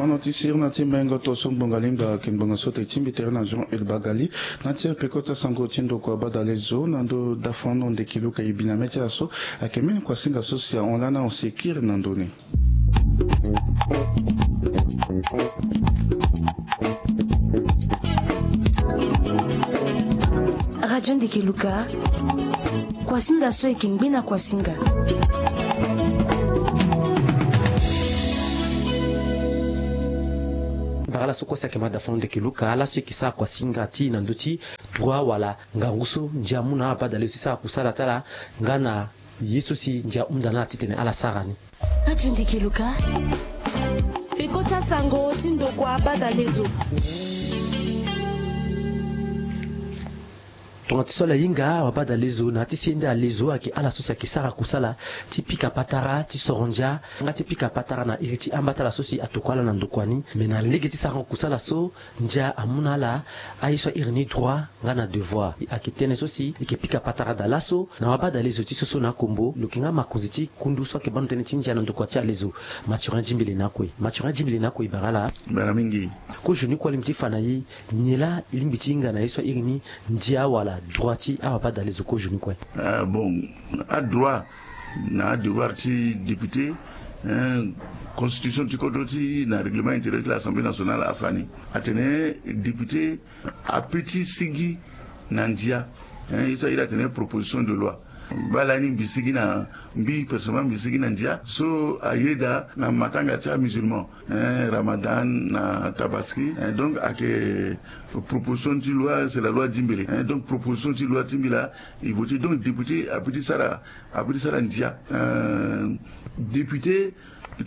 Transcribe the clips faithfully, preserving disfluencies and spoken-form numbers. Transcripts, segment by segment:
Ono ti sirina ti mbengo to so ngbonga lingba ayeke ngbonga so ate ti mbi tere na Jean Elbagali. Na ti peko ti asango ti ndokua badalezo na ndo dafano ndeki luka e bi na mê ti ala so ayeke mê kuasinga so si ahon lani ahon si e kiri na ndo ni. Radio Ndeke Luka, kuasinga so e yeke ngbe na kuasinga. Bara ala so kue si ayeke ma dafano ndeke luka ala so e yeke sara kuasinga ti e na ndö ti droit wala ngangu so ndia amu na abadalezo ti sara kusala ti ala nga na ye so si ndia ahunda na ala titene ala sara ni. Radio Ndeke Luka, peko ti asango ti ndokua badalezo. Tongana ti so ala hinga wabadalezo na ya ti sende alezo ayeke ala so si ayeke sara kusala ti pika patara ti soro ndia nga ti pika patara na iri ti amba ti ala so si atokua ala na ndokua ni. Me na lege ti sarango kusala so ndia amu na ala aye so airi ni droit nga na devoir. Ayeke tënë so si e yeke pika patara daa laso na wabadalezo ti so so na akombo lo yeke nga makonzi ti kundu so ayeke bando tënë ti ndia na ndokua ti alezo. Mathurin Djimbili na kue. Mathurin Djimbili na kue e bara ala. Bara mingi. Kozoni kue alingbi ti fa na e nyen laa e lingbi ti hinga na ye so airi ni ndia wala droit ti awabadalezo kozoni kue? Ah, bon, adroit na adevoir ti député, hein, constitution ti kodro ti na règlement intérieur ti l'Assemblée nationale afa ni. Atene député ape ti sigi na ndia, hein, ye so airi atene proposition de loi. Baa lani mbi sigi na, mbi personnellement mbi sigi na ndia so ayeda na matanga ti amusulman, hein, Ramadan na Tabaski, hein, donc ayeke proposition ti loi, c'est la loi Djimbili, hein, donc proposition ti loi ti mbi laa e voté. Donc député ape ti sara, ape ti sara ndia. Euh, député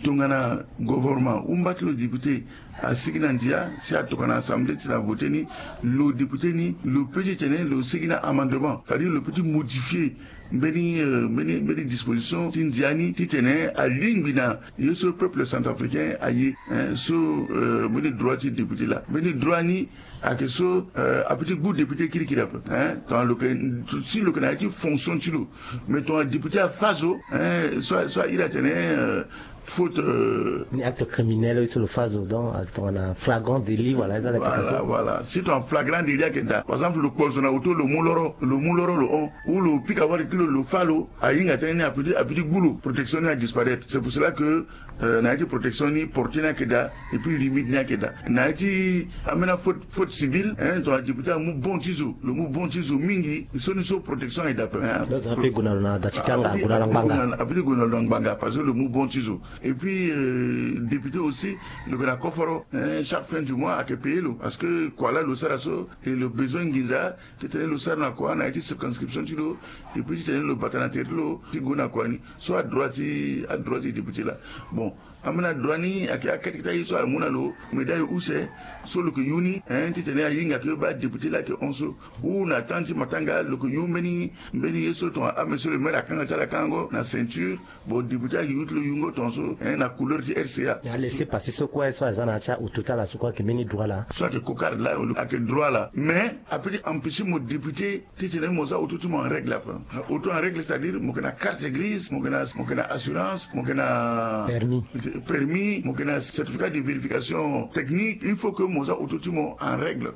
tongana gouvernement ou mba ti lo député asigi na ndia si atokua na assemblée ti na voté ni, lo député ni lo peut ti tene lo sigi na amendement, c'est-à-dire lo peut ti modifier mbeni, euh, mbeni, mbeni disposition ti ndia ni titene alingbi na ye so peuple centrafricain aye, hein, so, euh, mbeni droit ti député laa. Mbeni droit ni ayeke so, euh, ape ti gbu député kirikiri ape, hein, tongana lo yeke, si lo yeke na ya ti fonction ti lo. Mais tongana député afa zo, hein, so, so airi atene, euh, faute, euh, ni acte criminel so lo fa zo, donc, euh, tongana flagrant délit, voilà, eza na application. Voilà, voilà. Si tongana flagrant délit ayeke daa, par exemple lo kpo zo na auto, lo mu loro, lo mu loro lo hon, ou lo pika wali ti lo, lo fa lo, ahinga tënë ni ape ti, ape ti gbu lo, protection ni adisparaître. C'est pour cela que, euh, na ya ti protection ni portée ni ayeke daa, et puis limite ni ayeke daa. Na ya ti ambeni afaute, faute civile, hein, tongana député amu bon ti zo, lo mu bon ti zo mingi, so ni so protection ayeke daa ape, hein. Lo zo ape gue na lo na da ti kanga, ape ti gue na lo na ngbanga, ape ti gue na lo na ngbanga parce que lo mu bon ti zo. Et puis, euh, député aussi lo yeke na koforo, hein, chaque fin du mois ayeke payer lo parce que kua laa lo sara so, et lo besoin nginza titene lo sara na kua na ya ti circonscription ti lo, et puis titene lo bata na tere ti lo ti gue na kua ni. So adroit ti, adroit ti député laa. Bon, ambeni adroit ni ayeke akete kete aye so amu na lo, médaille use so lo yeke yu ni, hein, titene ahinga ke baa député laa ayeke hon so. Ou na temps ti matanga lo yeke yu mbeni, mbeni ye so tongana, ah, monsieur le maire akanga ti ala akangango na ceinture. Bon, député ayeke yu ti lo yungo tongaso, hein, na couleur ti R C A. Na laissez-passer so kue so aza na ya ti auto ti ala so kue ayeke mbeni droit laa. So ayeke cocarde laa, ayeke droit laa. Mais ape ti empêcher mo député titene mo za auto ti mo en règle ape. Auto en règle, c'est-à-dire mo yeke na carte grise, mo yeke na, mo yeke na assurance, mo yeke na permis, permis, mo yeke na certificat de vérification technique. Il faut que mo za auto ti mo en règle.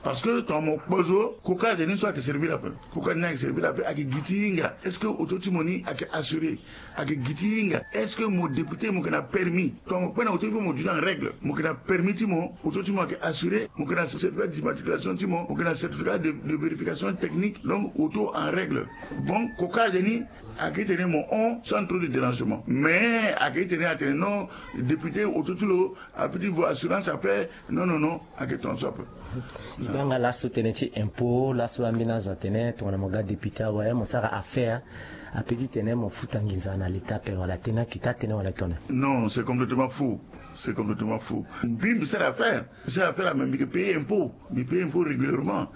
Parce que tongana mo kpo zo, cocarde ni so ayeke servir ape. Cocarde ni ayeke servir ape, ayeke gi ti hinga est-ce que auto ti mo ni ayeke assuré. Ayeke gi ti hinga est-ce que mo député mo yeke na permis. Tongana mo kpe na auto, il faut mo duti en règle. Mo yeke na permis ti mo, auto ti mo ayeke assuré, mo yeke na certificat d'immatriculation ti mo, mo yeke na certificat de, de vérification technique, donc auto en règle. Bon, cocarde ni ayeke tene mo hon sans trop de dérangement. Mais ayeke tene atene non, député auto ti lo ape ti vo assurance ape. Non, non, non, ayeke tongaso ape. E baa nga laso tënë ti impôt, laso ambeni azo atene tongana mo ga député awe mo sara affaire, ape ti tene mo futa nginza na l'État ape, wala tënë ni ayeke taa tënë wala e tene? Non, c'est complètement faux. C'est complètement faux. Mbi, mbi sara affaire. Mbi sara affaire, mais mbi yeke payer impôt. Mbi payer impôt régulièrement.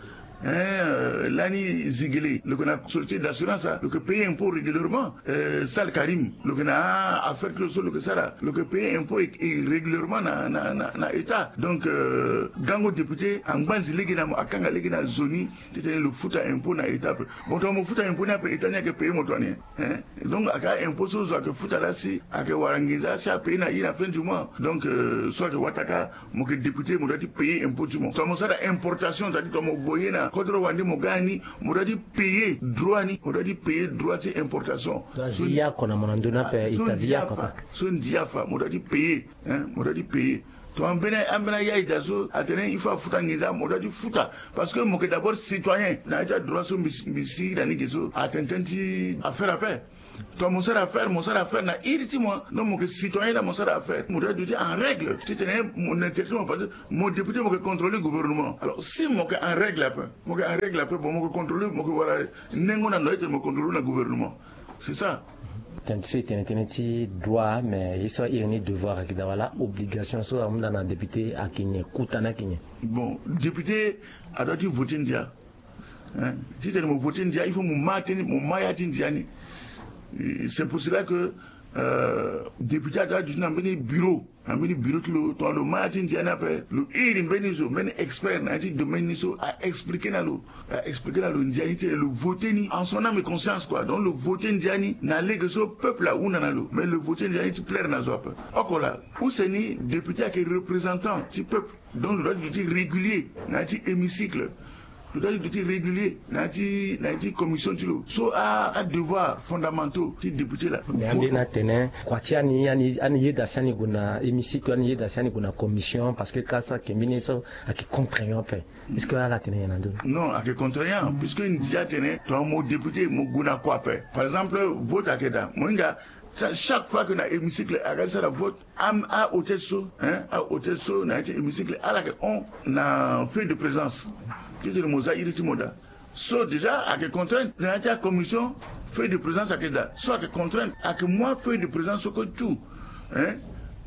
Hein, euh, lani Zigele, lo yeke na société d'assurance, lo yeke payer impôt régulièrement. Euh, Sal Karim, lo yeke na affaire ti lo so lo yeke sara, lo yeke payer impôt régulièrement na, na, na, na état. Donc, euh, gango député angbanzi lege na mo, akanga lege na zo ni titene lo futa impôt na état ape. Bon, tongana mo futa impôt ni ape, état ni ayeke payer mo tongana nyen? Hein? Donc, ayeke impôt so zo ayeke futa laa si ayeke wara nginza si apayer na ye na fin du mois. Donc, euh, so ayeke wataka, mo yeke député, mo doit ti payer impôt ti mo. Tongana mo sara importation, c'est-à-dire tongana mo voyer na kodro wande mo ga ni, mo doit ti payer droit ni, mo doit ti payer droit ti importation. Azi yako na mo na ndö ni ape, ita azi yako ape. So ndia fa, mo doit ti payer, hein, mo doit ti payer. Tongana ambeni, ambeni a-ita so atene il faut afuta nginza, mo doit ti futa. Parce que mo yeke d'abord citoyen na ya ti adroit so mbi si, mbi si na ni ge so atene tënë ti affaire ape. Tongana mo sara affaire, mo sara affaire na iri ti mo. Donc mo yeke citoyen, na mo sara affaire, mo doit ti en règle titene mo na intérêt ti mo, parce que mo député, mo yeke contrôler gouvernement. Alors si mo yeke en règle ape, mo yeke en règle ape, bon, mo yeke contrôler, mo yeke wara nengo na ndo aye titene mo contrôler na gouvernement. C'est ça. Tënë ti so e tene tënë ti droit, mais ye so a iri ni devoir ayeke daa wala obligation so ahunda na député ayeke nyen, kota ni ayeke nyen? Bon, député adoit ti voter ndia. Hein? Titene mo voter ndia, il faut mo ma tënë, mo ma ya ti ndia ni. Et c'est pour cela que, euh, député adoit aduti na mbeni bureau, na mbeni bureau ti lo, tongana lo ma ya ti ndia ni ape, lo iri mbeni zo, mbeni expert na ya ti domaine ni so, a-expliquer na lo, a-expliquer na lo ndia ni titene lo voter ni en son âme et conscience, quoi. Donc lo voter ndia ni na lege so peuple ahunda na lo, mais lo voter ndia ni ti plaire na zo ape. Oko laa, use ni député ayeke représentant ti peuple. Donc lo doit ti duti régulier na ya ti hémicycle. Lo doit ti duti régulier na ya ti, na ya ti commission ti lo. So a, adevoir fondamentaux ti député laa. Mais ambeni atene kua ti ani, ani, ani yeda si ani gue na hémicycle, ani yeda si ani gue na commission, parce que ka so ayeke mbeni ye so ayeke contraignant ape. Est-ce que ala atene nyen na ndö ni? Non, ayeke contraignant, puisque ndia atene tongana mo député mo gue na kua ape. Par exemple, vote ayeke daa, mo hinga, cha-, chaque fois que na hémicycle aga ti sara vote, a, a-hôtesse so, hein, a-hôtesse so na ya ti hémicycle ala yeke hon na feuille de présence titene mo za iri ti mo daa. So déjà ayeke contrainte na ya ti acommission, feuille de présence ayeke daa. So ayeke contrainte, ayeke mu afeuille de présence so kue tout, hein,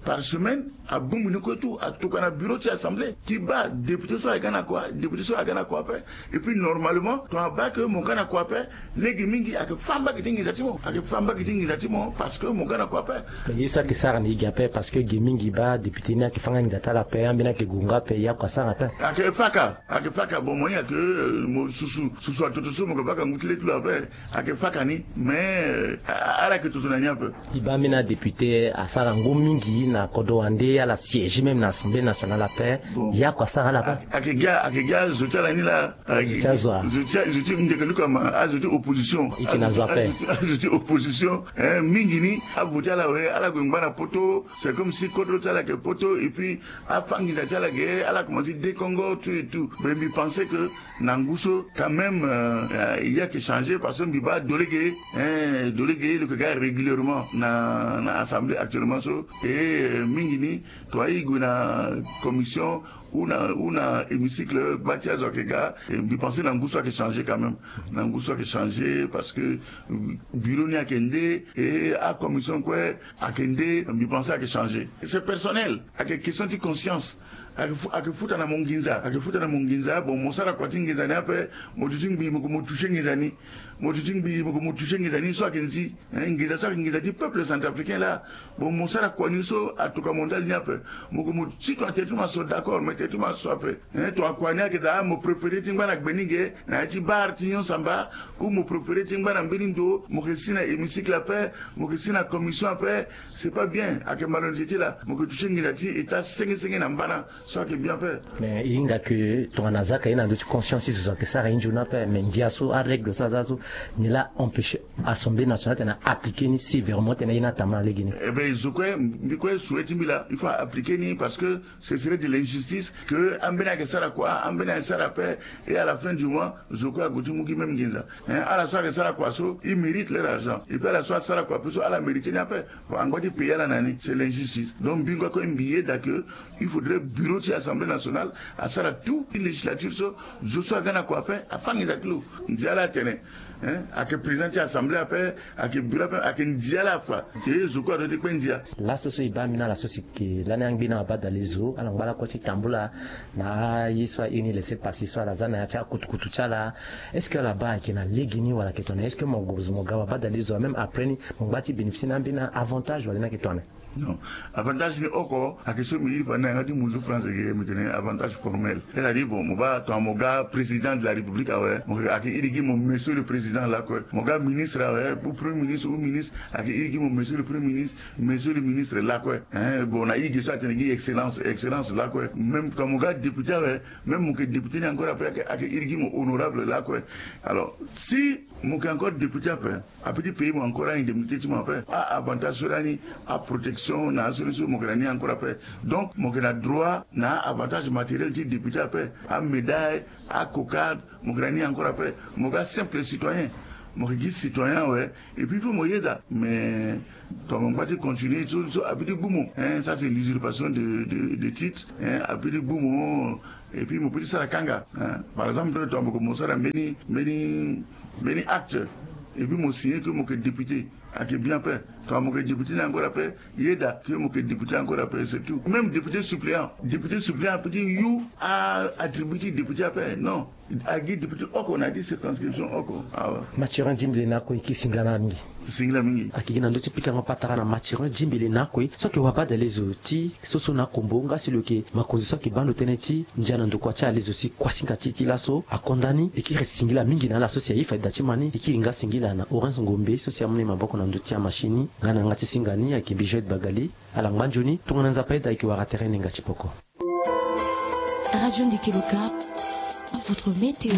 par semaine, abongbi ni kue tout, atokua na bureau ti assemblée ti baa député so ayeke ga na kua, député so ayeke ga na kua ape. Et puis normalement tongana abaa ke mo ga na kua ape, lege mingi ayeke fâ mbage ti nginza ti mo, ayeke fâ mbage ti nginza ti mo parce que mo ga na kua ape. Mais ye so ayeke sara na e ge ape, parce que ge mingi baa député ni ayeke fâ nga nginza ti ala ape, ambeni ayeke gue nga ape, ye oko asara ape. Ayeke fâ ka, ayeke fâ ka. Bon, mo hinga ke, euh, mo susu, susu atoto so mo yeke baka ngu ti le ti lo ape, ayeke fâ ka ni. Mais, euh, a-, ala yeke toto na ni ape. E baa ambeni adéputé asara ngu mingi na kodro wande, ala siéger même na Assemblée nationale ape. Bon. Ye oko asara ala ape. Ayeke ga, ayeke ga azo ti ala ni laa. Azo ti azo a. Zo ti, zo ti ndeke luka ma, azo ti opposition. E yeke na zo ape. Azo ti, azo ti opposition, eh, mingi ni avote ala we, ala gue ngba na poto. C'est comme si kodro ti ala yeke poto, et puis afâ nginza ti ala ge, ala commence dékongo tout et tout. Mais mbi pense que na ngu so quand même, euh, euh, ye ayeke changer, parce que mbi baa dolege, eh, dolege lo yeke ga régulièrement na, na assemblée actuellement so. Et, euh, mingi ni tongana e gue na commission ou na, ou na hémicycle, baa ti azo ayeke ga, eh, mbi pense na ngu so ayeke changer quand même. Na ngu so ayeke changer parce que, euh, bureau ni ayeke nde, et acommission kue ayeke nde, mbi pense ayeke changer. C'est personnel, ayeke question ti conscience. Ayeke fu-, ayeke futa na mo nginza, ayeke futa na mo nginza. Bon, mo sara kua ti nginza ni ape, mo duti ngbii mo gue mo toucher nginza ni. Mo duti ngbii mo gue mo toucher nginza ni, so ayeke nzi. Eh, nginza so ayeke nginza ti peuple centrafricain laa. Bon, mo sara kua ni so atokua mo ndali ni ape, mo gue mo si tongana tere ti mo aso, d'accord, mais tere ti mo aso ape. Eh, tongana kua ni ayeke daa mo préféré ti ngba na gbe ni ge na ya ti bar ti nyon samba, ou mo préféré ti ngba na mbeni ndo, mo yeke si na hémicycle ape, mo yeke si na commission ape. C'est pas bien, ayeke malhonnêteté laa. Mo yeke toucher nginza ti état senge senge na mbana. So ayeke bien ape. Mais e hinga ke tongana a zia ka ye na ndö ti conscience ti zo, zo ayeke sara ye nzoni ape. Mais ndia so, arègle so aza so, ni laa empêcher Assemblée nationale tene a appliquer ni sévèrement, tene a ye ni atambula lege ni. Eh ben, zo kue, mbi kue souhait ti mbi laa, il faut a appliquer ni, parce que ce serait de l'injustice que ambeni ayeke sara kua, ambeni ayeke sara ape, et à la fin du mois zo kue ague ti mu gi même nginza. Hein, ala so ayeke sara kua so, il mérite leur argent. Et puis ala so asara kua ape so, ala mérité ni ape. Bon, angba ti payer ala na ni, c'est l'injustice. Donc mbi ngba kue mbi yeda ke il faudrait bureau bureau ti assemblée nationale asara tout ti législature so zo so aga na kua ape afa nginza ti lo. Ndia laa atene, hein, ayeke président ti assemblée ape, ayeke bureau ape, ayeke ndia laa afa. E zo kue adoit ti kpe ndia. Laso so e baa ambeni ala so si ke lani angbi na abadale zo ala ngba lakue ti tambula na aye so airi ni laissez-passer so ala za na ya ti akutukutu ti ala. Est-ce que ala baa ayeke na lege ni wala ayeke tongana est-ce que mo ga mo ga abadale zo même après ni mo ngba ti bénéficier na ambeni avantage wala ni ayeke tongana? Non. Avantage ni oko ayeke so mbi iri fa na yanga ti muzu France ge mbi tene avantage formel. C'est-à-dire bon, mo baa tongana mo ga président de la république awe, mo ayeke iri gi mo monsieur le président lakue. Mo ga ministre awe, ou premier ministre ou ministre, ayeke iri gi mo monsieur le premier ministre, monsieur le ministre lakue. Hein, bon, na i ge so atene gi excellence, excellence lakue. Même tongana mo ga député awe, même mo yeke député ni encore ape ayeke iri gi mo honorable lakue. Alors si mo yeke encore député ape, ape ti pays mo encore a-indemnité ti mo ape, a-avantage so lani, aprotection na aso ni so mo yeke na ni encore ape. Donc mo yeke na droit na a-avantage matériel ti député ape, amédaille, acocarde, mo yeke na ni encore ape. Mo ga simple citoyen, mo yeke gi citoyen awe. Et puis il faut mo yeda mais tongana mo ngba ti continuer so so ape ti gbu mo, hein, ça c'est l'usurpation de, de, de titre, hein, ape ti gbu mo. Et puis mo peut ti sara kanga, hein. Par exemple tongana mo sara mbeni mbeni mbeni acte, et puis mo signer que mo yeke député, ayeke bien ape. Tongana mo yeke député ni encore ape, yeda que mo yeke député encore ape, c'est tout. Même député suppléant, député suppléant ape ti yu a-attribut ti député ape, non. Agi député oko na ya ti circonscription oko awe. Mathurin Dimbele na ako e kiri singila na ala mingi. Singila mingi. Ayeke gi na ndö ti pikango patara na Mathurin Dimbele na ako e so ayeke wabadale zo ti soso na akombo nga si lo yeke makonzi so ayeke baa ndo tënë ti ndia na ndokua ti ala zo si kuasinga ti e ti laso akonda ni. E kiri singila mingi na ala so si aye fadedaa ti ma ni. E kiri nga singila na Horace Ngombe so si amu na e maboko na ndö ti amachine ni nga na yanga ti singa ni ayeke Bijoet Bagali. Ala ngba nzoni tongana Nzapa ayeda e yeke wara tere nenga ti poko. Radio Ndeke Loka, votre météo.